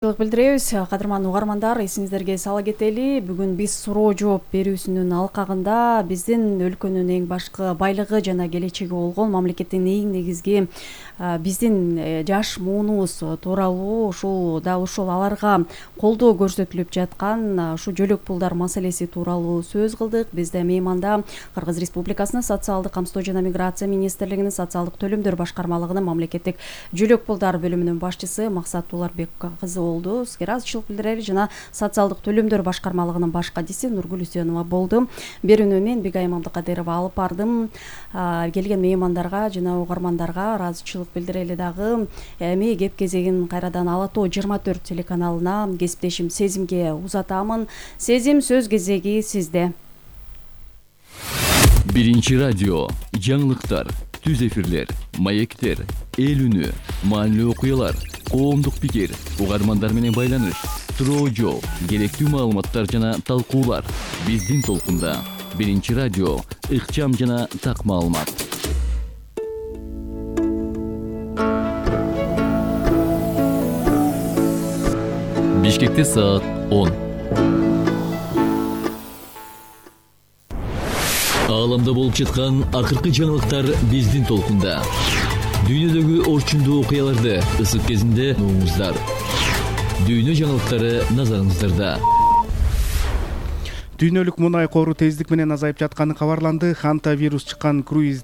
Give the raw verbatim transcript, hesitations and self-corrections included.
Билдиребиз, кадырман угармандар, эсиңиздерге сала кетели. Бүгүн биз суроо жооп берүүсүнүн алкагында биздин өлкөнүн эң башкы байлыгы жана келечеги болгон мамлекеттин эң негизги биздин жаш муунубуз тууралуу, ушул дал ушул аларга колдоо көрсөтүлүп жаткан ушу жөлөк пулдар маселеси тууралуу сөз кылдык. Бизде мейманда Кыргыз Республикасынын социалдык камсыздоо жана миграция министрлигинин социалдык төлөмдөр башкармалыгынын мамлекеттик жөлөк пулдар бөлүмүнүн башчысы Максат Тууларбек кызы болду. Сизге ыраазычылык билдирели жана социалдык төлөмдөр башкармалыгынын баш кадиси Нургүл Үсөнова болду. Берүүнү мен Бигайым Абдыкадырова алып бардым. Келген меймандарга жана угармандарга ыраазычылык билдирели дагы. Эми кеп кезегин кайрадан Ала Тоо жыйырма төрт телеканалына кесиптешим Сезимге узатамын. Сезим, сөз кезеги сизде. Биринчи радио, жаңылыктар, түз эфирлер, маектер, эл үнү, маанилүү окуялар, коомдук пикир, угармандар менен байланыш, суроо жооп, керектүү маалыматтар жана талкуулар. Биздин толкунда Биринчи радио, ыкчам жана так маалымат. Бишкекте саат он. Ааламда болуп жаткан акыркы жаңылыктар биздин толкунда. Дүйнөдөгү орчундуу окуяларды ысык кезинде угуңуздар. Дүйнө жаңылыктары назарыңыздарда. Дүйнөлүк мунай кору тездик менен азайып жатканы кабарланды. Ханта вирус чыккан круиз